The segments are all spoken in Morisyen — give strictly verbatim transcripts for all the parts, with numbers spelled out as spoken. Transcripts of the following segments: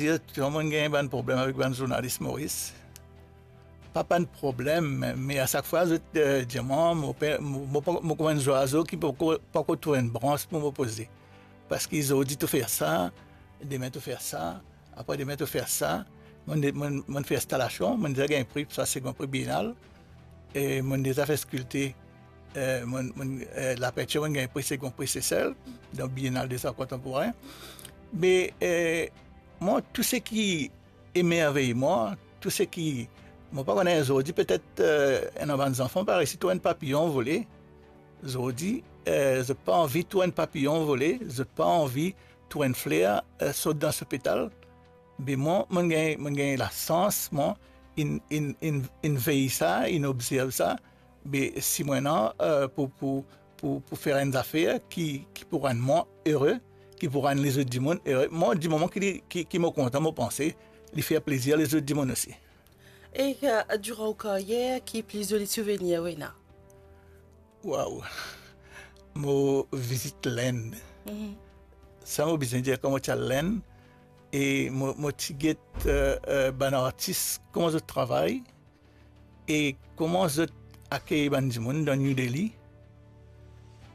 Touzour mo'nn gagn bann problem avek bann zournalis Moris. Pa bann problem, me a sak fwa zot, eh, dir mwa, mo pe, mo, mo pa, mo kouma enn zwazo ki poko, poko trouv enn brans pou mo poze. Parski zordi to fer sa, demin to fer sa, apre demin to fer sa. Mo'nn, mo'nn, mo'nn fer instalasion, mo'nn deza gagn pri, sa segond pri Biennale. E mo'nn deza fer skilte, eh, mo'nn, mo'nn, eh, lapintir, mo'nn gagn pri segond pri Sesel, dan Biennale des Arts Contemporains. Me, eh, mwa, tou seki emervey mwa, tou seki, mo pa kone, zordi petet, eh, ena bann zanfan pa resi trouv enn papiyon vole. Zordi, eh, zot pa anvi trouv enn papiyon vole, zot pa anvi trouv enn fler, eh, sot dan so petal. Be mwa, mo'nn gagn, mo'nn gagn lasans, mwa, inn, inn, inn, inn vey sa, inn obzerv sa. Be si mo ena, eh, pou, pou, pou, pou fer enn zafer ki, ki pou rann mwa ere, ki pou rann lezot dimoun ere. Mwa, dimoman ki, ki, ki mo kontan, mo panse, li fer plezir lezot dimoun osi. E, eh, diran ou karyer, ki pli zoli souvenir ou ena? Waw! Mo vizit Lenn. Mhm. Sa mo bizin dir, kan mo ti al Lenn, e mo, mo ti get, eh, eh, bann artis, kouma zot travay, e kouma zot akey bann dimoun dan New Delhi.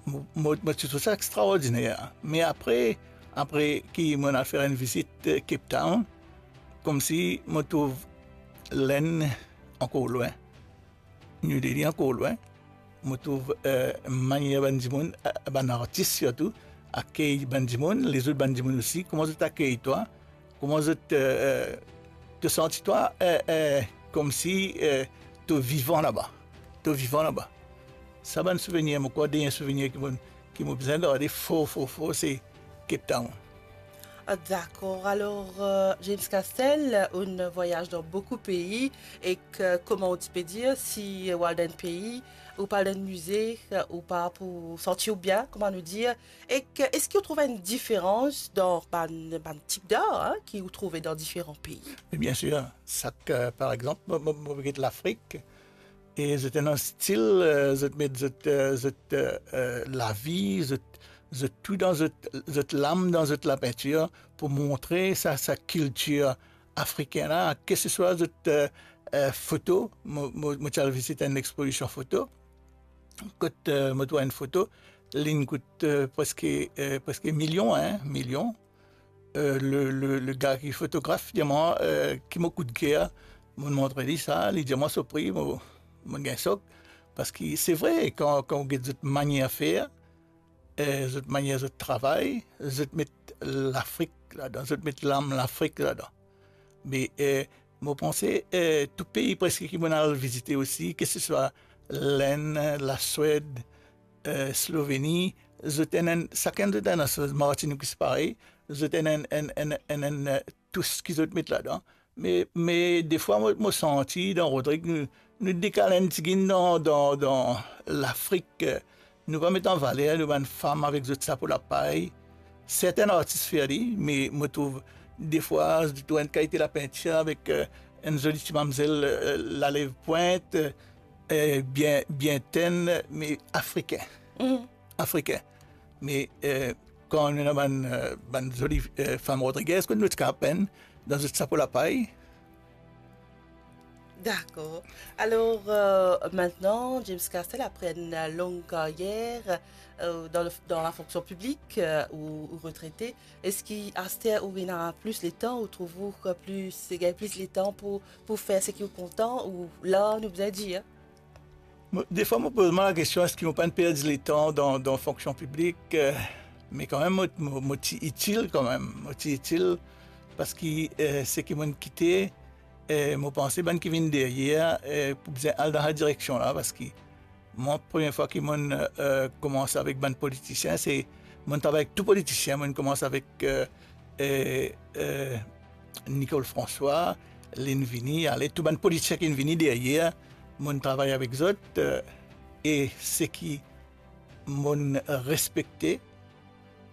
Mo, mo, mo ti trouv sa extraordiner. Me apre, apre ki mo'nn al fer enn vizit, eh, Cape Town, koumsi mo trouv Lenn ankor lwin. New Delhi ankor lwin. Mo trouv, eh, manier bann dimoun, eh, bann artis sirtou, akey bann dimoun, lezot bann dimoun osi, kouma zot akey twa, kouma zot, eh, eh, to santi twa, eh, eh, koumsi, eh, to vivan laba. To vivan laba. Sa bann souvenir, mo krwar, dernie souvenir ki mo, ki mo bizin garde for, for, for, se Cape Town. Ah, dakor. Alor, eh, James Castel, ou'nn vwayaz dan boukou pei, ek, eh, kouma ou ti pe dir, si ou al dan enn pei, ou pa al dan enn mize, ou pa pou santi ou bien, kouma nou dir. Ek, eh, eski ou trouv enn diferans dan bann, bann tip d'ar, hein, ki ou trouve dan diferan pei? Wi, bien sir. Sak, eh, par exanp, mo, mo, mo get Lafrik, e zot ena stil, eh, zot met zot, eh, zot, eh, eh, lavi, zot, zot tou dan zot, zot lam dan zot lapintir pou montre sa, sa kiltir afrikin la, ke se swa zot, eh, eh, foto, mo, mo, mo ti al vizit enn expozision foto, kot, eh, mo trouv enn foto, li'nn kout, eh, preske, eh, preske milion, hein, milion. Eh, le, le, le gar ki fotograf dir mwa, eh, ki mo koudker, mo'nn montre li sa, li dir mwa so pri, mo, mo'nn gagn sok, parski se vre, kan, kan ou get zot manier fer, eh, zot manier zot travay, zot met Lafrik ladan, zot met lam Lafrik ladan. Me, eh, mo panse, eh, tou pei preske ki mo'nn al vizite osi, ke se swa Lenn, Laswed, eh, Sloveni, zot ena enn, sakenn zot ena so, Martinique osi parey, zot ena enn, enn, enn, enn, enn, eh, tous ki zot met ladan. Me, me defwa mo, mo santi dan Rodrig, nou, nou dekal enn tigit dan, dan, dan Lafrik, eh, nou pa met an valer nou bann fam avek zot sapo lapay. Sertin artis fer li, me mo trouv defwa, zot trouv enn kalite lapintir avek, eh, enn zoli ti mamzel, eh, lalev pwint, eh, bien, bien tenn, me afrikin. Mhm. Afrikin. Me, eh, kan nou ena bann, eh, bann zoli, eh, fam Rodriguez, kot nou ti kapav penn dan zot sapo lapay. Dakor. Alor, eh, mintnan, James Castel, apre enn long karyer, eh, dan le, dan lafonksion piblik, eh, ou, ou retrete, eski aster ou ena plis letan, ou trouv ou plis, gagn plis letan pou, pou fer seki ou kontan, ou lar, nou bizin dir? Mo, defwa, mo poz mwa lakestion, eski mo pa'nn perdi letan dan, dan fonksion piblik, eh, me kanmem, mo, mo, mo ti itil kanmem, mo ti itil, parski, eh, seki mo'nn kite, eh, mo panse bann ki vinn deryer, eh, pou bizin al dan sa direksion la, parski mwa, premie fwa ki mo'nn, eh, koumans avek bann politisien, se, mo'nn travay ek tou politisien, mo'nn koumans avek, eh, eh, eh, Nicole François, li'nn vini, ale, tou bann politisien ki'nn vini deryer, mo'nn travay avek zot, eh, e seki mo'nn respekte,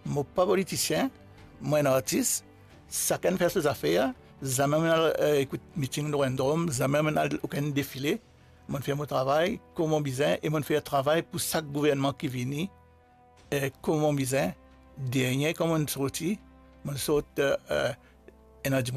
mo pa politisien, mo enn artis, sakenn fer so zafer, zame mo'nn al, eh, ekout miting lor enn drom, zame mo'nn al okenn defile, mo'nn fer mo travay kouma bizin e mo'nn fer travay pou sak gouvernman ki vini, eh, kouma bizin. Dernie, kan mo'nn sorti, mo'nn sort, eh, eh, ena dimoun